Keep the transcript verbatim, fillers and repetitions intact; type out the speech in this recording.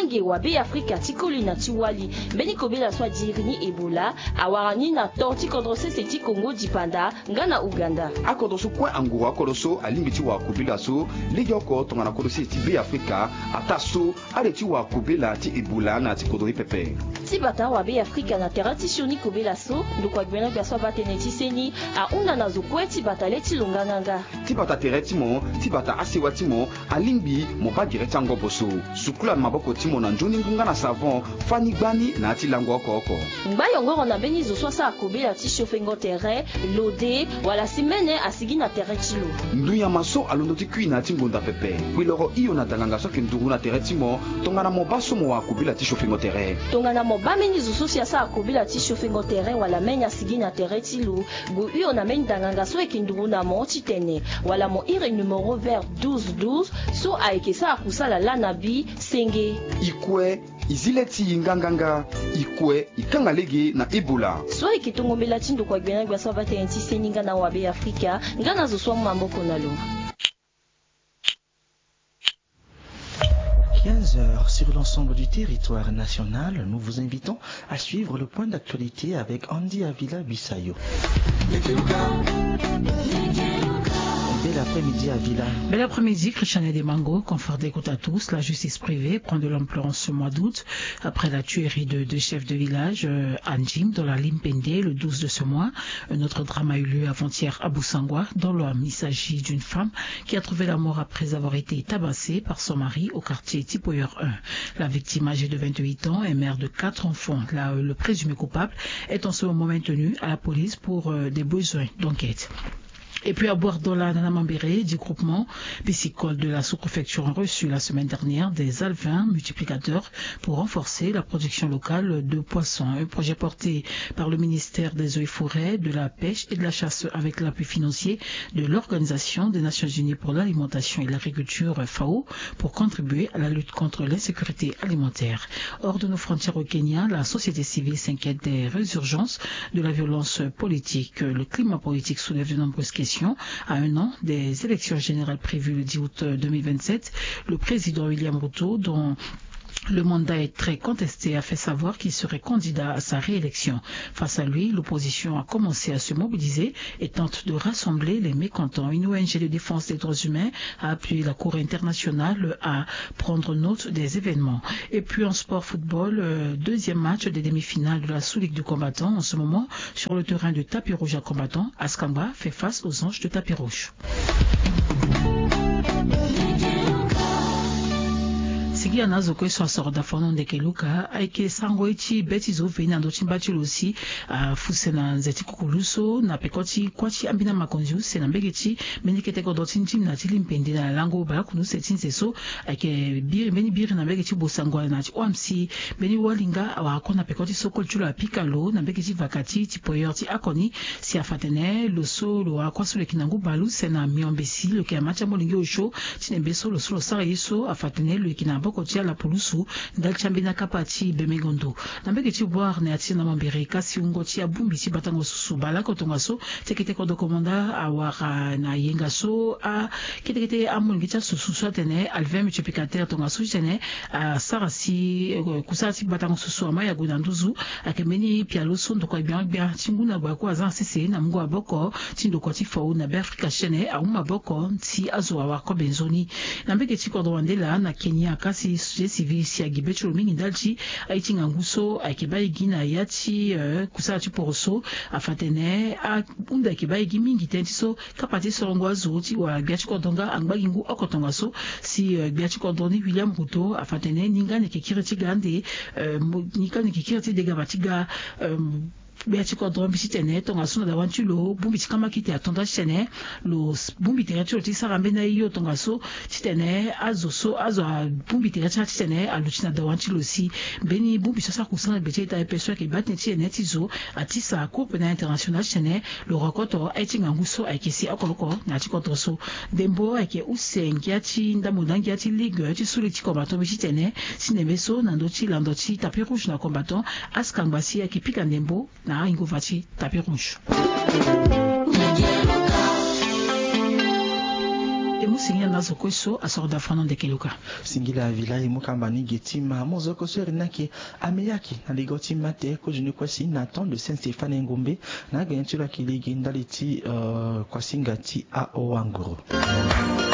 Nge wa Be Afrika ti koli na ti wali. Mbeni kobela so adiri ni Ebola awara ni na to ti kodro sese ti Kongo dipanda nga na Uganda. Akodro so kue anguru akodro so alingbi ti wara kobela so legeoko tongana kodro sese ti Be Afrika ataa so ale ti wara kobela ti Ebola na ya ti kodro ni pepe. Ti bata wa Be Afrika na tere ti sioni kobela so ndokua gbia na gbia so abaa tënë ti seni ahunda na zo kue ti bata le ti lo nganganga. Ti bata tere ti mo, ti bata asewa ti mo, alingbi mo baa gere ti angobo so. Sukula maboko ti mo na nzoni ngu nga na savon, fani gbani na ya ti lango oko oko. Ngba yongoro na mbeni zo so asara kobela ti siofengo tere, lode, wala si mene asigi na tere ti lo. Ndu nyama so alondo ti kui na ya ti ngonda pepe. Kpiloro hio na danganga so ayeke nduru na tere ti mo tongana mo baa so mo wara kobela ti siofengo tere. Tongana mo baa mbeni zo so si asara kobela ti siofengo tere wala mene asigi na tere ti lo, gue hio na mbeni danganga so ayeke nduru na mo titene wala mo iri numero vert douze douze so ayeke sara kusala laa na bi senge. I kue, i zi le ti i nganganga. I kue, i kanga lege na Ebola. So ayeke tongo mbela ti ndokua gbia na gbia so abaa tënë ti seni nga na wa Be Afrika nga na zo so amu maboko na lo. Quinze heures sur l'ensemble du territoire national, nous vous invitons à suivre le point d'actualité avec Andy Avila Bisayo. Bel après-midi, Avila. Bel après-midi, Christiane Demango. Confort d'écoute à tous. La justice privée prend de l'ampleur en ce mois d'août après la tuerie de deux chefs de village, euh, à Ndjim, dans la Limpende, le douze de ce mois. Un autre drame a eu lieu avant-hier à Boussangwa, dans l'Ouham. Il s'agit d'une femme qui a trouvé la mort après avoir été tabassée par son mari au quartier Tipoyer un. La victime, âgée de vingt-huit ans, est mère de quatre enfants. Là, le présumé coupable est en ce moment maintenu à la police pour, euh, des besoins d'enquête. Et puis à Bouardola, dans la Mambéré, dix groupements piscicoles de la sous-préfecture ont reçu la semaine dernière des alevins multiplicateurs pour renforcer la production locale de poissons. Un projet porté par le ministère des Eaux et Forêts, de la Pêche et de la Chasse avec l'appui financier de l'Organisation des Nations Unies pour l'alimentation et l'agriculture, FAO, pour contribuer à la lutte contre l'insécurité alimentaire. Hors de nos frontières au Kenya, la société civile s'inquiète des résurgences de la violence politique. Le climat politique soulève de nombreuses questions. À un an des élections générales prévues le dix août deux mille vingt-sept, le président William Ruto, dont le mandat est très contesté, a fait savoir qu'il serait candidat à sa réélection. Face à lui, l'opposition a commencé à se mobiliser et tente de rassembler les mécontents. Une O N G de défense des droits humains a appelé la Cour internationale à prendre note des événements. Et puis en sport football, euh, deuxième match des demi-finales de la sous-ligue du combattant. En ce moment, sur le terrain de tapis rouge à combattant, Askamba fait face aux anges de tapis rouge. Sigi ana zo kue so asoro dafono ndeke luka ayeke sango ye ti be ti zo veni na ndö ti mba ti lo si afuse na nze ti kukulu so na peko ti kuâ ti ambeni amakonzi use na mbege ti mbeni kete kodro ti ndimna ti Limpende na lango baleokunda use ti nze so ayeke biri mbeni biri na mbege ti Bossangoa na ti Ouham si mbeni walinga awara kue na peko ti so koli ti lo apika lo na mbege ti vaka ti Tipoyer ti akoni. Si afa atene lo so lo wara kuâ so lo yeke na ngu baleuse na miombe si lo yeke na ma ti amolenge osio ti nembe so lo so lo sara ye so afa atene lo yeke na maboko ti ala pulusu ndali ti ambeni akapa ti bemengo ndo. Na mbege ti Bouar na ya ti na Mambéré kasi wungo ti abongbi ti batango susu baleoko tongaso ti kete kodro komanda awara na yenga so a kete kete amolenge ti asusu so atene alevin multiplicateur tongaso titene asara si, eh, kusala ti batango susu ama yago na nduzu. Ayeke mbeni pialo so ndokua gbiangbia ti ngu na gba kue aza na sese na mungo maboko ti ndokua ti FAO na Beafrika ti tene amu maboko si azo awara kobe nzoni. Na mbege ti kodro wande laa na Kenya kasi société civile si agi be ti lo mingi ndali ti aye ti ngangu so ayeke baa e gi na ya ti, eh, kusala ti poroso. Afa atene ahunda ayeke baa e gi mingi tënë ti so kapa ti sorongo azo ti wala gbia ti kodro nga angba gi ngu oko tongaso si, eh, gbia ti kodro ni William Ruto afa atene ni nga ni yeke kiri ti ga ande, eh, mo- ni nga ni yeke kiri ti degaba ti ga, eh, gbia ti kodro mbi titene tongaso na dawa ti lo bongbi ti kamakite ato nda titene lo s- bongbi tere ti lo ti sara mbeni aye yo tongaso titene azo so azo abongbi tere ti ala titene aluti na dawa ti lo si mbeni bongbi so asara kusana gbe ti eta aye pepe so ayeke baa tënë ti tene ti zo atisa cour pénal international titene lo rokoto aye ti ngangu so ayeke si oko oko na ya ti kodro so. Ndembo ayeke use ngia ti ndambo na ngia ti ligue ti suli ti combattant mbi titene si ndembe so na ndö ti lando ti tapis rouge na combattant askangba si ayeke pika ndembo na ahingova ti tapis rouge. Singila na zo kue so asoro da fana ndeke luka. Singila vilai mo kamba ni ge ti ma mo zo kue so eri ni ake. Ameyaki na ligo ti mate kozoni kue si na temps de saint stéphane engombe na agene ti lo ake lege ndali ti kuasinga ti aowanguru.